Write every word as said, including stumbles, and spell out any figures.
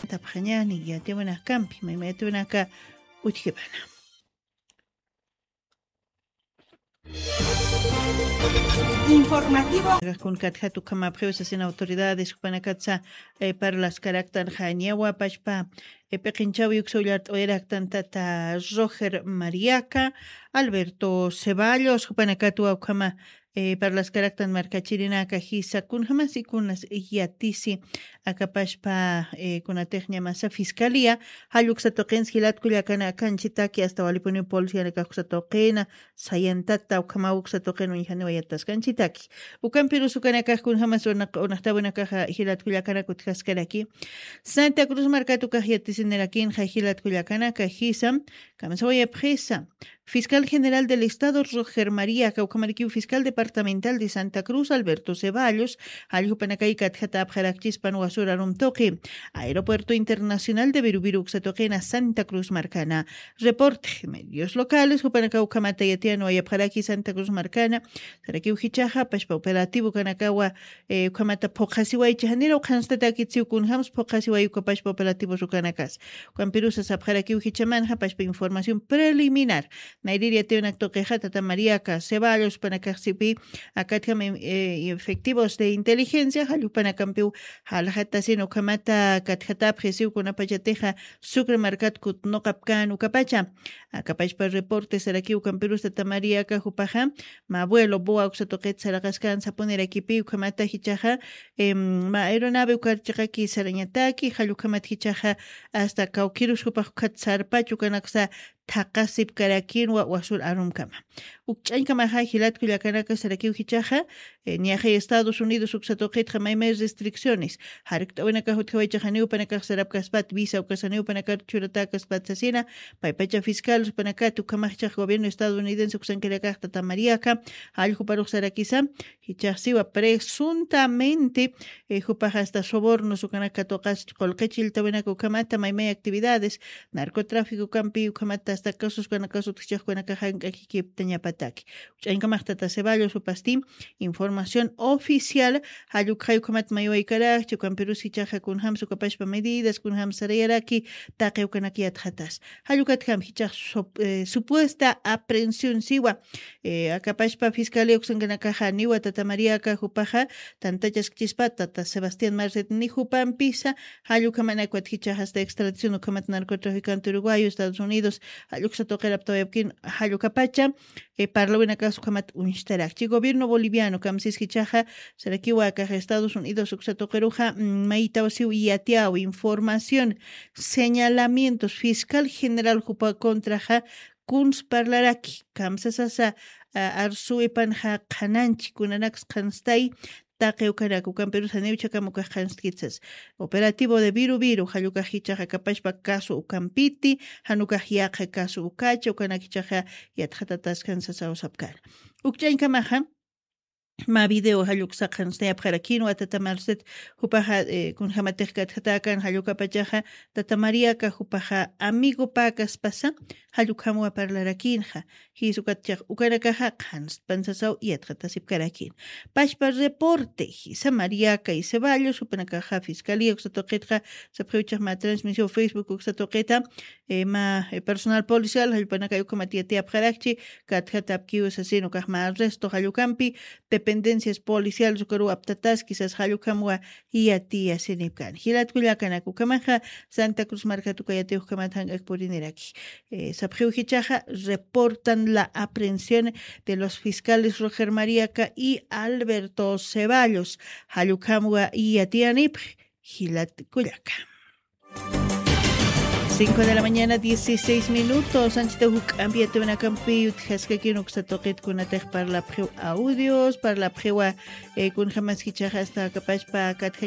Tapxañani yatiwinakakampi maymayatiwinaka. Utjipana. Informativo. Kun katjat ukhamapxiw sasin autoridades jupanakatsa, eh, parlaskaraktan jañawa pachpa, eh, p'iqinchawi uksa ullart'awayaraktan tata Roger Mariaca, Alberto Ceballos jupanakatwa ukhama, eh, parlaskaraktan markachirinaka jisa kunjamasi kunas yatisi akapashpa, eh, kunatix ñamasa fiscalía jalluksa tuqinsi jilat kullakana kanchitaki asta walipuniw policianakax uksa tuqina sayantata ukhamaw uksa tuqin uñjaniwa yataskanchitaki. Ukampirus ukanakax kunjamas unaqtawinakaxa jilat kullakanaka utjaskaraki. Santa Cruz markat ukax yatisinirakinxa jilat kullakanaka jisa kamsawayapxisa. Fiscal General del Estado Roger María, kawkhamarikiw Fiscal Departamental de Santa Cruz Alberto Ceballos, jalljupanakay katjatapxarakchispan wasur arum tuqi, Aeropuerto Internacional de Viruviru uksa tuqina Santa Cruz markana. Reporte, medios locales, jupanaka ukhamata yatiyan wayapxaraki Santa Cruz markana, sarakiw jichaxa, pashpa operativo kanakawa, eh, ukhamata phuqhasiwaycha, janira uqhanstatakit siw kunjams phuqhasiway ukapashpa operativos ukanakas. Ukampirusa sapxarakiw jichamanxa pashpa información preliminar. Nayrir yatiwnak tuqixa tata Mariaca Ceballos panakaxsipi akatjam, eh, efectivos de inteligencia jallupanakampiw jalxatasin ukhamata katjatapxisiw kunapachatixa Sucre markat kutnuqapkan ukapacha. Akapachpa reporte sarakiw ukampirusa tata Mariaca jupaxa, ma abuelo boa uksa tuqit saraqaskan sapunirakipi ukhamata jichaxa, em, ma aeronave ukar chiqaki sarañataki jallukhamat jichaxa asta kawkirus jupax ukhat sarpach ukanaksa thaqasipkarakinwa wasur arumkama. Ukch'añkamaxa jilat kullakanaka sarakiw jichaxa, eh, niyaxay Estados Unidos uksa tuqitxa maymay restricciones jarkt'awinakax utjawaychaxa niwpanakax sarapkaspat visa ukasa niwpanakar churatäkaspat sasina, paypacha fiscal panakat ukhamax jichax gobierno estadounidense uksankarakax tata Mariaca jalljuparux sarakisa, jichaxsiwa presuntamente, eh, jupax asta sobornos ukanaka tuqas qullqi chilltawinaka ukhamata maymay actividades narcotráfico ukampi ukhamata asta casos ukanakas utjchax ukanakax jank'akikiptañapataki. Ch'añkamax tata Ceballos jupasti información oficial jallukxay ukhamat maywaykarakchi ukampirus jichaxa kunjams ukapashpa medidas kunjams sarayaraki taqi ukanak yatxatas. Jallukatjam jichax sup-, eh, supuesta aprehensión siwa, eh, akapashpa fiscalía uksankanakaxa niwa tata Mariaca jupaxa tantachaskchispa tata Sebastián Marcet ni jupampisa jallukhamanakwa jichaxa asta extradición ukhamat narcotraficante uruguayo Estados Unidos jalluksa tuqiraptawayapkin jallukapacha, eh, parlawinakas ukhamat uñstarakchi. Gobierno boliviano kamsis jichaxa sarakiwa akax Estados Unidos uksa tuqiruxa, mm, maytawsiw yatiyaw información, señalamientos, fiscal general jupa contraxa kuns parlaraki, kamsasasa, a, arsuwipanxa qhananchi, kunanaks qhanstay, taqi ukanak ukampirus janiw chakam ukax qhanskitsas. Operativo de Viru Viru jallukax jichaxa akapashpa caso ukampiti, janukax yaqha caso ukacha ukanak jichaxa yatxatataskan sasaw sapkana. Ukch'añkamaxa, ma video jalluksa qhanstayapxarakinwa tata Marcet jupaxa, eh, kunjamatix katjatäkan jallukapachaxa, tata Mariaca jupaxa amigopäkaspasa jallukhamwa parlarakinxa. Jis ukatchax ukanakaxa qhanstpan sasaw yatxatasipkarakin. Pashpa reporte jisa Mariaca y Ceballos jupanakaxa fiscalía uksa tuqitxa sapxiw jichax ma transmisión Facebook uksa tuqita, eh, ma, eh, personal policial jallpanakay ukhamat yatiyapxarakchi, katjatapkiw sasin ukax ma arresto jallukampi, dependencias policiales ukaruw aptataski sas jallukhamwa yatiyasinipkan. Jilat kullakanak ukhamaxa Santa Cruz markat uka yatiyuxkamat jank'ak puriniraki. Eh, sapxiw jichaxa reportan la aprehensión de los fiscales Roger Mariaca y Alberto Ceballos. Jallukhamwa yatiyanipxi jilat kullaka. Cinco de la mañana, dieciséis minutos. Anchita juk'ampi yatiyunakampi utjaskakin uksa tuqit kunatix parlapxiw audios, parlapxiwa, eh, kunjamas jichaxa asta akapashpa katjañ